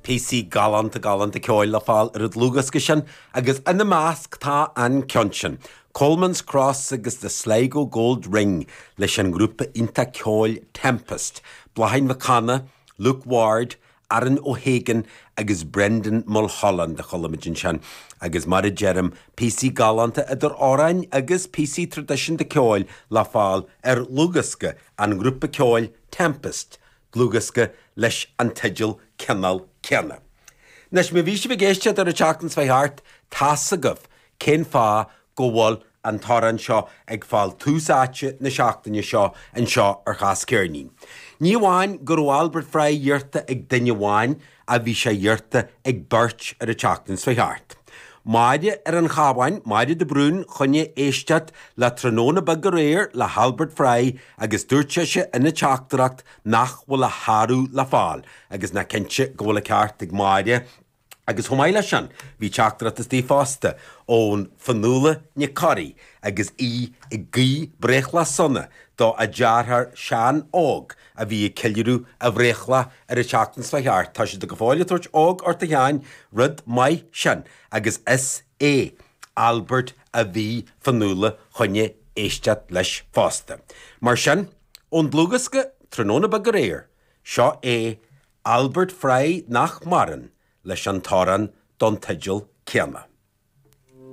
Píosaí galánta galánta ceoil le fáil ar an dlúthdhiosca sin agus ina measc tá an ceann sin, Coleman's Cross agus The Sligo Gold Ring leis an ngrúpa iontach ceoil Tempest, Bláithín Mhic Cana, Luke Ward, Aaron O'Hagan agus Brendan Mulholland a chuala muid ansin agus mar a deirim, píosaí galánta idir amhráin agus píosaí traidisiúnta ceoil le fáil ar dhlúthdhiosca an ghrúpa ceoil Tempest, dlúthdhiosca leis an teideal cineál céanna. Anois, má bhí sibh ag éisteacht ar an tseachtain seo thart, tá's agaibh cén fáth go bhfuil an t-amhrán seo ag fáil tús áite na seachtaine seo anseo ar Chas Ceirnín. Ní amháin go raibh Albert Fry iarrta ag duine amháin ach bhí sé iarrta ag beirt ar an tseachtain seo thart. Máire ar an Chabhán, Máire de Brún, choinne éisteacht le Tráthnóna Beag Aréir le hAlbert Fry agus dúirt sise ina teachtaireacht nach bhfuil a shárú le fáil agus nach cinnte go bhfuil an ceart ag Máire agus chomh maith leis sin bhí teachtaireacht istigh fosta ón Fionnuala Nic Corraidh agus í ag guí breithlá sona do a deartháir Seán Óg a bhí ag ceiliúradh a bhreithlá ar an tseachtain seo thart. Tá siad go fóill ag tabhairt óg ort a Sheáin, rud maith sin, agus is é Albert a bhí Fionnuala choinne éisteacht leis fosta. Mar sin, ón dlúthdhiosca Tráthnóna Beag Aréir, seo é Albert Fry nach maireann leis an t-amhrán don teideal céanna.